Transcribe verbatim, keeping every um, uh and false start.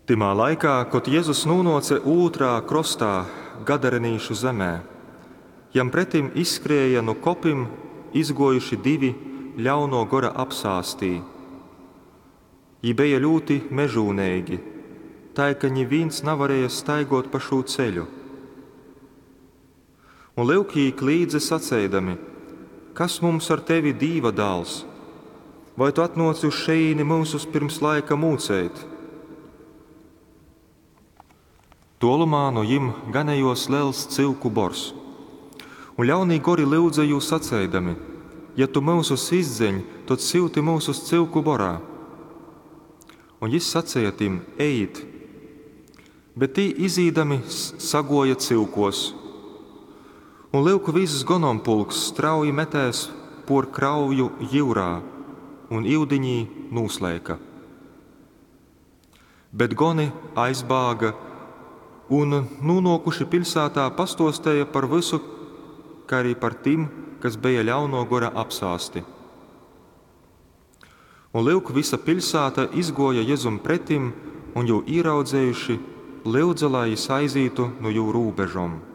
Tymā laikā, kod Jezus nūnōce ūtrā krostā gadarenīšu zemē, jam pretim izskrēja nu kopim izgōjuši divi ļaunō gora apsāstī. Jī beja ļūti mežūneigi, tai ka nivīns navarēja staigōt pa šū ceļu. Un lyuk, jī klīdze saceidami, Kas mums ar tevi, Dīva Dāls? Vai tu atnōci uz šejīni myusus pyrms laika mūceit? Tōlumā nu jim ganejōs lels cyuku bors. Un ļaunī gori lyudze jū saceidami, Ja tu myusus izdzeņ, tod syuti myusus cyuku borā. Un jys saceja tim, Ejit! Bet tī izīdami sagōja cyukōs. Un lyuk, vyss gonompulks strauji metēs pōr krauju jyurā un yudiņī nūsleika. Bet goni aizbāga un, nūnōkuši piļsātā, pastōsteja par vysu, kai arī par tim, kas beja ļaunō gora apsāsti. Un lyuk, vysa piļsāta izgōja Jezum pretim un, jū īraudzejuši, lyudze, lai jys aizītu nu jū rūbežom.